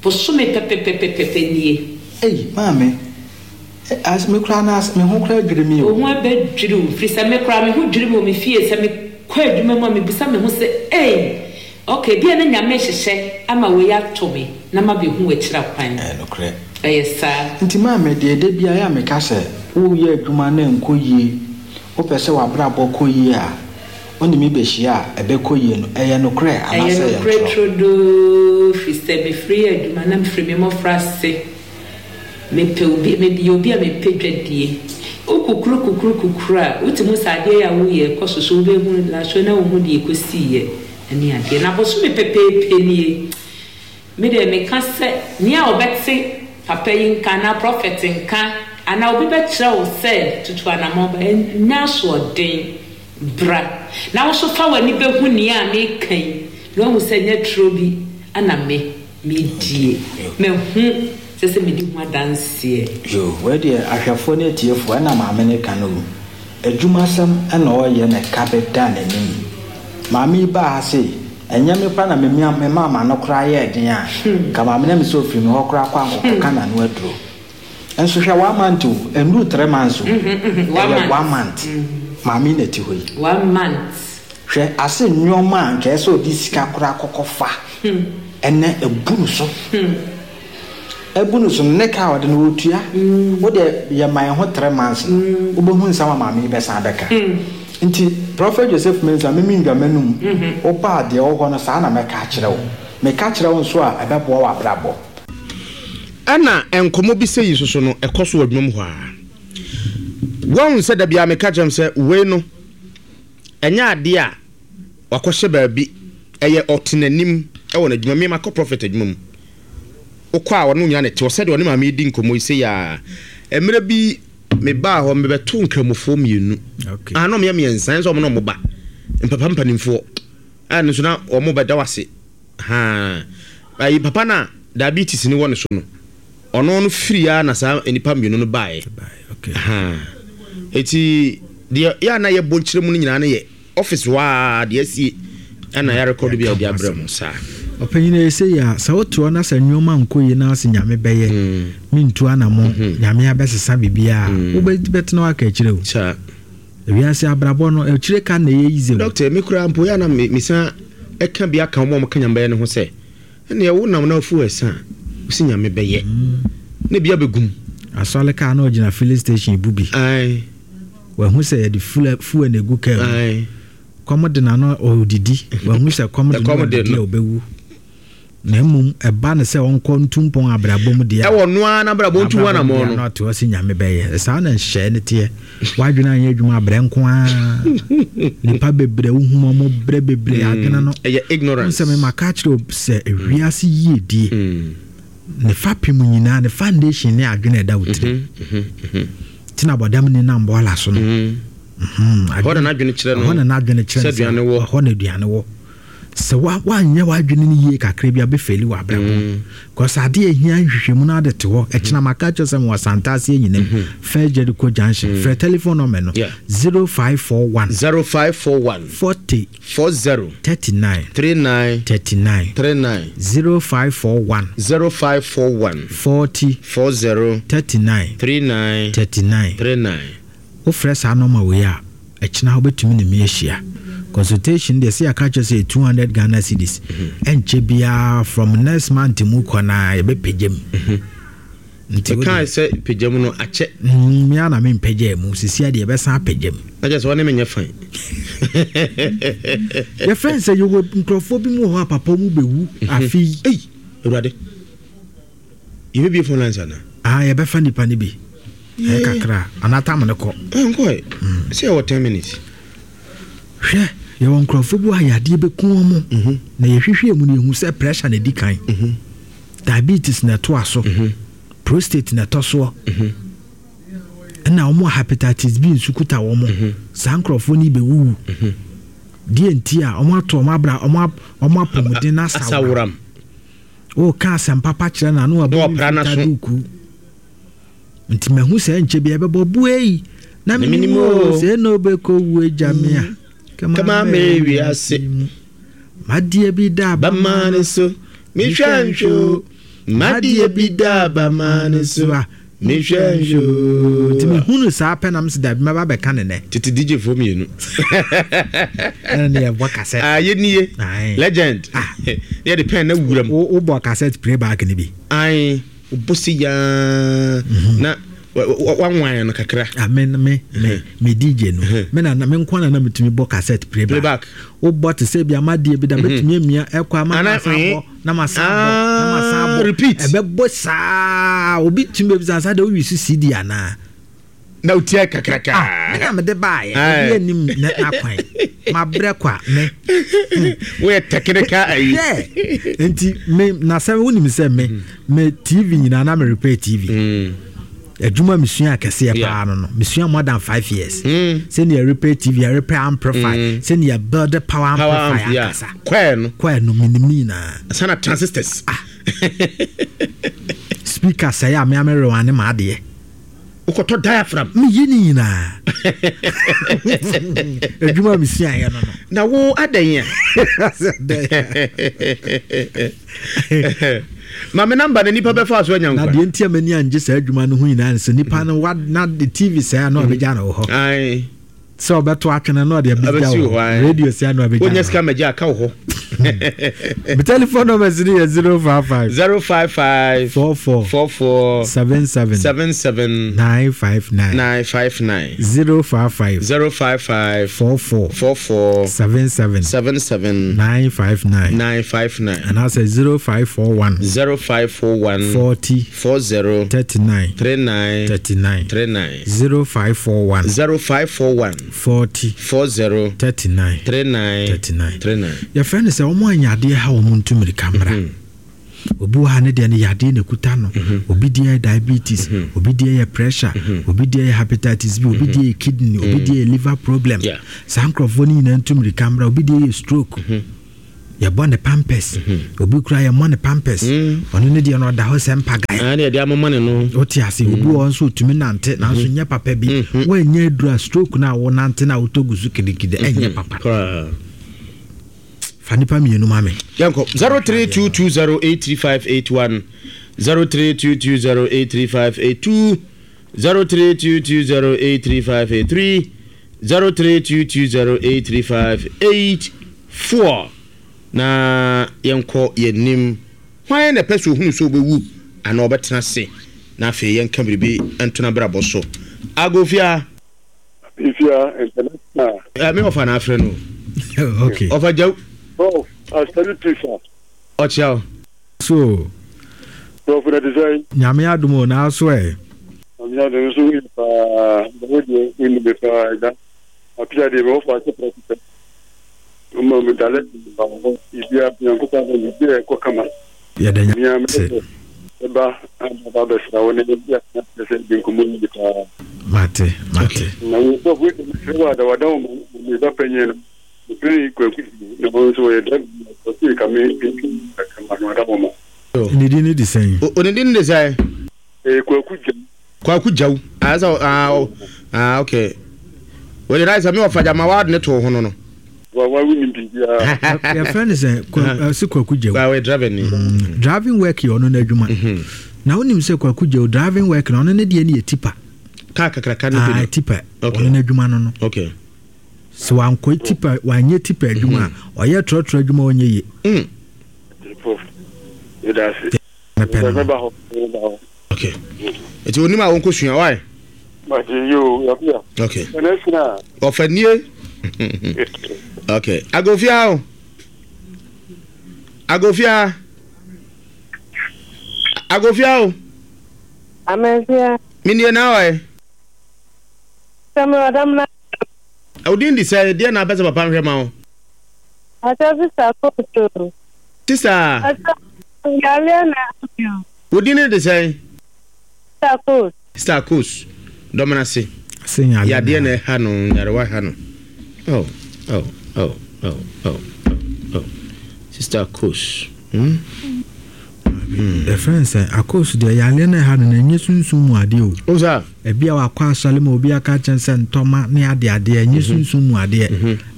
Bosome pɛpɛpɛpɛpɛ nie. Ei, maame, as, me koraa no as, me ho koraa dwiri me o. Wo ho bɛdwiri wo, firi sɛ me koraa me ho dwiri me wɔ me fie, sɛ mekɔ adwuma mu a mebisa me ho sɛ, ei, ok, ebia na Nyame rehyehyɛ ama wei ato me na mabɛhu w'akyira kwan. Ɛyɛ nokorɛ. Ɛyɛ saa. Nti maame, deɛ da biara yɛ a meka sɛ, woreyɛ adwuma na ɛnkɔ yie, wopɛ sɛ w'abrabɔ kɔ yie a, wo ne me bɛhyia a, ɛbɛkɔ yie no, ɛyɛ nokorɛ Ɛyɛ anaasɛ ɛyɛ nokorɛ ntorɔ? turodoo, firi sɛ mefiri adwuma na mefiri me mmɔfraase. Mepɛ obi, meyɛ obi a mepɛ dwadie. Wo kukuru kukuru kukuru a, wotumi hu sɛ adeɛ yi a woreyɛ rekɔ so so, wobɛhu last na wohu deɛ ɛkɔsiiɛ ne adeɛ. Na bosome pɛpɛɛpɛ nie. Me deɛ meka sɛ, nea ɔbɛte papa yi nka anaa prɔfɛt nka anaa obi bɛkyerɛ wo sɛ tutu anamɔn ba, nyɛ asoɔden, bra na wo nso fa w'ani bɛhu nea meka yi na woahu sɛ ɛnyɛ turo bi na me medie. Mahu sɛ sɛ medi ho adanseɛ. Yoo, wei deɛ ahwɛfoɔ ne atiefoɔ ɛna maame no reka no o. Adwumasɛm na ɔreyɛ na ɛka bɛda n'anim. Maame yi baa ha sei, ɛnyɛ me koraa na memia memaa m'ano koraa yɛɛ den a, nka maame no anim sɛ ɔfiri me hɔ koraa kɔ ankɔkɔka n'ano aduro. Nso hwɛ one month o, ɛnnuru three months o, ɛyɛ one month. Maame yi na ɛte hɔ yi. One month. Hwɛ ase nnoɔma a anka ɛsɛ sɛ ɔde sika koraa kɔkɔfa ɛnɛ abu no so. Abu no so no, ne ka a ɔde no ɔtua. Wo deɛ yɛ ma yɛn ho three months no, wobɛhu nsɛm a maame yi bɛsan abɛka. Nti Prophet Joseph Mensah, me mendwa m'anum, woba a deɛ ɛwɔ hɔ no saa na mɛka akyerɛ wo. Meka kyerɛ wo nso a ɛbɛboa w'abrabɔ. Ɛna nkɔmmɔ bi sɛ yi soso no ɛkɔ so wɔ adwuma mu hɔ a. Wɔn sɛ dabi a meka kyerɛ m sɛ wei no ɛnyɛ adeɛ a wakɔhyɛ baabi, ɛyɛ ɔte n'anim ɛwɔ n'adwuma. Mi makɔ prophet adwuma mu, wokɔ a ɔno nyina ne te hɔ sɛdeɛ ɔne maame yi di nkɔmmɔ yi sɛ yɛ a. Mmerɛ bi mebaa hɔ, mebɛto nkramofoɔ mmienu. Okay. Ah, na ɔmo yɛ mmiɛnsa, ɛnso ɔmo na ɔmo ba mpapa mpanimfoɔ a no nso na ɔmo bɛda wase haa. Ayi papa na diabetes ni wɔ ne so no, ɔno no firi ya na saa nipa mmienu no baeɛ. Okay. Haa, eti deɛ yɛ a na yɛbɔ nkyerɛ mu no nyinaa no yɛ office waa deɛ asie ɛna yɛ record bi a yɛde abrɛ mu saa. Ɔpanyin, ɛyɛ sɛ yi a sɛ wote hɔ na sɛ nneɛma nkɔ yie na ase Nyame bɛyɛ, mentu anammɔ, Nyame abɛsesa biribiaa, wobɛtena hɔ aka akyirɛ o. Saa. Ewiase abrabɔ no akyire ka na ɛyɛ easy o. Doctor, me koraa mpo yɛ a na me mesan ɛka bi aka wɔn a wɔka Nyame bɛyɛ no ho sɛ ɛnneɛ wo nam na afu ɛsa a wosi Nyame bɛyɛ na ebi abɛgum. Asɔre kaa na ɔgyina filling station bu bi. Ae. Wahu sɛ yɛde fuel fuel na egu kaa mu. Ae. Kɔm de n'ano ɔdidi. Wahu sɛ kɔm de no Ɛkɔm de ɔdidi a no. ɔbɛwu. Na mmom ɛba no sɛ ɔnkɔ ntu mpɔn abrabɔ mu deɛ a, Ɛwɔ noa n'abrabɔ ntu ho abrabɔ mu anammɔn deɛ no. na ɔte hɔ sɛ Nyame bɛyɛ. Saa na nhyehyɛeɛ no teɛ. W'adwene anyɛ adwuma, abrɛ nko ara. Nipa bebree wohu wɔn brɛ bebree adwene no. Ɛyɛ ignorance. Wohu sɛ mema ka kyerɛ wo sɛ ewiase yiedie Mm. ne fapem nyinaa, ne foundation ne adwene a ɛda wo tirim. Mhm, mhm, Nti na bɔdam ni nam bɔɔla so no. mhm. Mhm, Ɛhɔ na n'adwene kyerɛ no. Ɛhɔ na n'adwene kyerɛ Sɛ no sɛ aduane wɔ. Ɛhɔ na aduane wɔ. Sɛ wa wanyɛ w'adwene no yie kakra bi a, bɛfɛli wɔ abrabɔ mu. Because adeɛ a ɛhia nhwehwɛmu no ade te hɔ. Ɛkyena maka kyerɛ sɛ mewɔ Santase Anyinam, First Jericho Junction. Frɛ telephone number no. Yeah. zero five four one zero five four one forty forty thirty-nine thirty-nine thirty-nine thirty-nine. zero five four one zero five four one forty forty thirty-nine thirty-nine thirty-nine. thirty-nine. Wofrɛ saa nɔma wei a, ɛkyena wobɛtumi ne me ahyia consultation deɛ, sɛ yɛaka kyerɛ sɛ two hundred Ghana cedis. Ɛnkyɛ biara, from next month mu kɔ na yɛbɛpagya mu. Nti wode- Ɛkaa sɛ pagya mu no akyɛ. Mm, mea na mempagya mu sisia deɛ, yɛbɛsan apagya mu. Na kyerɛ sɛ wɔne menyɛ fine. Yɛfrɛ n sɛ yɛwɔ nkurɔfoɔ bi mu wɔ hɔ a papa mu bɛwu afei. Ei, Awurade, yɛbɛbie phone lines ana? Ah, yɛbɛfa nipa no bi, ɛyɛ kakra anaa tam no kɔ. Nkɔɛ sɛ yɛwɔ ten minutes. Hwɛ, yɛwɔ nkurɔfoɔ bi wɔ a yadeɛ bɛku wɔn mo, na yɛhwehwɛ mu no, yɛhu sɛ pressure na ɛdi kan, diabetes na ɛtoa so, prostate na ɛtɔ soɔ, ɛna wɔn a hepatitis B nso kuta wɔn mo. Saa nkurɔfoɔ no bɛwuwu. Deɛ nti a wɔn ato wɔn abra wɔn ap- wɔn apɔmuden no asawora. Asaworam. Wɔka asɛm papa kyerɛ na ano Na wabɔ wɔpra n'aso. fitaa duku. Nti mahu sɛ nkyɛ bi ɛbɛbɔ buei na Na menim menim o o. Sɛ na wobɛkɔ wu agya me a Kama me wiase. Mu madeɛ bi da bama ne so mehwɛ nhwɛ o, madeɛ bi da bama ne so a mehwɛ nhwɛ o. Nti mehunu saa pɛ nam sɛ dabi, mɛba bɛka ne nɛ. Tete D J foɔ mmienu. Ɛne ne yɛbɔ cassette. Ah, yɛnie. Aye. Legend. Ah. Yɛde pen na wura mu. Wo- wobɔ cassette playback no bi? Ae, wobɔ se yaa na wa- wa- wanwan no kakra. Ah, me me me me D J no, me na me nko na na metumi bɔ cassette playback. Playback. Wobɔ te sɛ bi amadeɛ bi da, mɛtumi amia ɛkɔ ama Ana- na masan bɔ na masan bɔ na masan Ah, bɔ. Repeat. Ɛbɛbɔ saa, obi tumi bɛbisa sa de wowi so C D anaa? Na wotia kakraka. Me na mede baayɛ. Aye. Obi anim na n'akwan mabrɛ kɔ a me woyɛ technical ayi. Hwɛ, nti me na sɛ wonim sɛ me me T V nyinaa na me repair T V. Mm. Adwuma mesua kɛseɛ Yeah. paa no no mesua more than five years Mm. sɛnea repair T V, repair amplifier, Mm. sɛnea build power power amplifier amp, yeah. ankasa. Kwɛɛ no. Kɔɛ no, menim ne nyinaa. Sana transistors. Speaker sɛe a, mea merewa ne maadeɛ. Wokɔtɔ diaphragm. Meyi ne nyinaa. Adwuma mesuaeɛ no no. Na wo adɛn a ma me number na nipa bɛfa so anya Na nkwa. Deɛ nti a m'ani angye saa adwuma no ho nyinaa ne sɛ nipa no wa na de T V sɛe a, na ɔbɛgya no wɔ hɔ. Ae. Sɛ ɔbɛto atwene na ɔde abɛgya Abɛsi wɔ wɔ hɔ, ae. hɔ. Radio sɛe a, na ɔbɛgya wonya no sika hɔ. magye aka wo hɔ. Me telephone numbers ni yɛ zero five five. Zero five five. Four four. Four four. Seven seven. Seven seven. Nine five nine. Nine five nine. Zero five five. Zero five five. Four four. Four four. Seven seven. Seven seven. Nine five nine. Nine five nine. And I say zero five four one. Zero five four one. Forty. Four zero. Thirty nine. Three nine. Thirty nine. Three nine. Zero five four one. Zero five four one. Forty. Four zero. Thirty nine. Three nine. Thirty nine. Three nine. Your friend is a woman yadeɛ ha wɔn ntu mirika mmra. Obi wɔ ha ne deɛ no yadeɛ na ekuta no. Obi deɛ yɛ diabetes, obi deɛ yɛ pressure, obi deɛ yɛ hepatitis B, obi deɛ yɛ kidney, obi deɛ yɛ liver problem. Saa nkurɔfoɔ no nyinaa ntu mirika mmra. Obi deɛ yɛ stroke. Yɛbɔ ne pampers. Obi kura yɛmmɔ ne pampers. Ɔno ne deɛ no ɔda hɔ sɛ mpagae. Ah, deɛ amoma ne no. Wote ase, obi wɔ nso otumi nante nanso nyɛ papa bi. Woanyɛ aduru a stroke no a wonante na wotɔ gu so kidigidi ɛnyɛ papa. Fa nipa mmienu ma me. Yɛnkɔ zero three two two zero eight three five eight one zero three two two zero eight three five eight two zero three two two zero eight three five eight three zero three two two zero eight three five eight four na yɛnkɔ yɛnim hwan na ɛpɛ sɛ ohunu sɛ ɔbɛwu anaa ɔbɛtena ase na afei yɛnka biribi ntona brabɔ so. Agofia. Ifia international. Eh, me ɔfa na afrɛ no. Okay. Ɔfa gyaw. Prof, I salute you, sir. Ɔkyia. So. Prof, na te sɛ. Nyame adom o na aso ɛ. Nyame adom nso wo paa. Wo deɛ wo ni be paa da. Apia deɛ me wɔfa ase prɛko pɛ. Ɔma me dale ba hɔ. Ibia Nyankopɔn adom biribi a ɛkɔ kama. Yɛda Nyame ase. Ɛba aba bɛsra wo ne bi atena sɛ di nkɔmmɔ yi paa. Mate, mate. Na wo prof wo de me wa da wada wo me ba panyin no. Mepere kwaku na wɔn nso wɔyɛ dɛ ɔsi ka me kama no ada wɔn ma. Ne din ne de sɛn? O ne din de sɛn? Eh, Kwaku Gyaw. Kwaku Gyaw. Ah, so ah, ah, okay. Wɔde rice mi ɔfa gyama wa ne to ho no no. Wa wa wuni biribiara. Yɛfrɛ no sɛ sɛ Kwaku Gyaw. Wa wɔ driving ni. Driving work yɛ ɔno n'adwuma. Na wonim sɛ Kwaku Gyaw driving work na ɔno ne deɛ ne yɛ tipa. Kaa kakraka no bi. Ah, tipa. Ɔno n'adwuma no no. Okay. So wankɔ tipa wanyɛ tipa adwuma a ɔyɛ trɔtrɔ adwuma ɔnyɛ yie. Okay. Eti onim a wɔnkɔ sua why? Okay. Ɔfa nie. Okay. Agofia o. Agofia. Agofia o. Amefia. Minie na ɔyɛ. Sɛmi ɔdam na. Odin di sɛ deɛ na abɛsɛ papa nhwɛ ma wo. Ata sista koto. Sista. Ata yareɛ na bio. Odin ne de sɛn? Sista kos. Sista kos. Dɔmena se. Yadeɛ na ɛha no, nyarewa ha no. Oh, oh, oh, oh, oh, oh. Sista kos. Hmm? The friend sɛ akos deɛ yareɛ na ɛha no na ɛnyɛ sunsum mu adeɛ o. O sa. Ebi a wakɔ asɔre ma obi aka kyɛn sɛ ntɔma ne ade adeɛ ɛnyɛ sunsum mu adeɛ.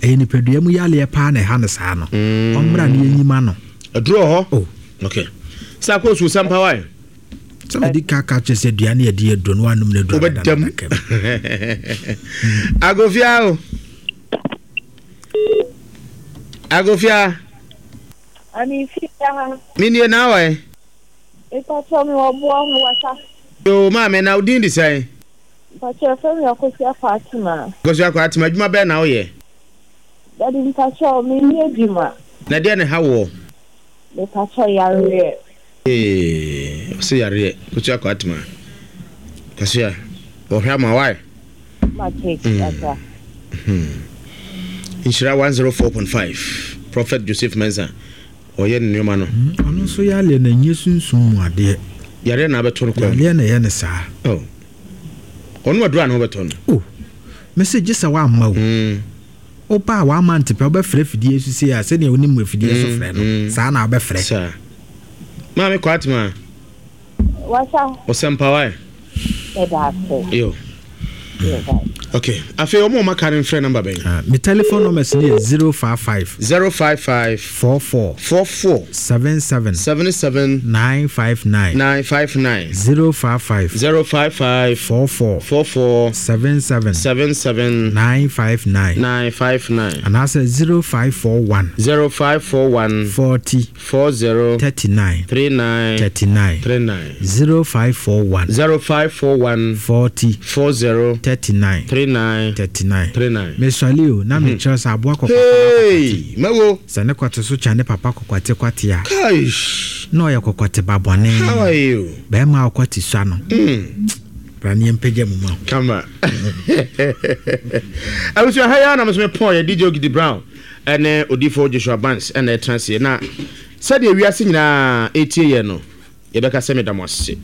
Ɛyɛ nipadua mu yareɛ paa na ɛha no saa no. Ɔmmra ne yɛnyima no. Aduro hɔ? Oh. Okay. Sɛ akos wo sampa wae? Sɛ mede ka ka kyerɛ sɛ dua ne yɛde aduro no wanom no aduro. Wobɛdam. Agofia o. Agofia. Ami fia. Minie na wae? Mpacho mi wɔ boɔ ho wasa. Yo maame na odin di sɛn? Mpacho fɛ mi Akosua Fatima. Akosua Fatima adwuma bɛn na woyɛ? Daddy mpacho mi ni adwuma. Na deɛ ne ha wɔ? Mpacho yareɛ. Eh, ɔsɛ yareɛ. Akosua Fatima. Akosua, ɔhwɛ ama wae? Mate, ata. Nhyira one oh four point five. Prophet Joseph Mensah. Ɔyɛ ne nneɛma no. Ɔno nso yareɛ na ɛnyɛ sunsum mu adeɛ. Yareɛ na abɛtɔ no kwan. Yareɛ na ɛyɛ ne saa. Oh. Ɔno aduru a na ɔbɛtɔ no. Oh. Mese gye sɛ wamma o. Woba a wamma ntepɛ wobɛfrɛ fidie so sei a sɛdeɛ wonim afidie so frɛ no. Saa na wobɛfrɛ. Saa. Maame Kwatima. Wasa. Ɔsɛmpa wae. Ɛda ase. Yo. Okay, afei ɔmo a ɔmo aka no mfrɛ number bɛn? Ah, me telephone numbers no yɛ zero five five. Zero five five. Four four. Four four. Seven seven. Seven seven. Nine five nine. Nine five nine. Zero five five. Zero five five. Four four. Four four. Seven seven. Seven seven. Nine five nine. Nine five nine. Anaasɛ zero five four one. Zero five four one. Forty. Four zero. Thirty nine. Three nine. Thirty nine. Three nine. Zero five four one. Zero five four one. Forty. Four zero. Thirty nine. Three nine. Thirty nine. Three nine. Mesuale o, na mekyerɛ sɛ aboa kɔkɔte ba Hey, kɔkɔte. mɛwo. Sɛ ne kɔte so kyɛn ne papa kɔkɔte kwate a. Kaish. Na ɔyɛ kɔkɔte ba bɔne. How are you? Bɛrima a ɔkɔte sua no. Mm. Bra ne yɛmpagya mu ma wo. Kama. Abusua ha yi ara na me nso mepɔn yɛ D J Ogidi Brown ɛne Odifo Joshua Banks ɛna ɛtena aseɛ na sɛdeɛ wiase nyinaa ɛtie yɛn no yɛbɛka sɛ meda mo ase.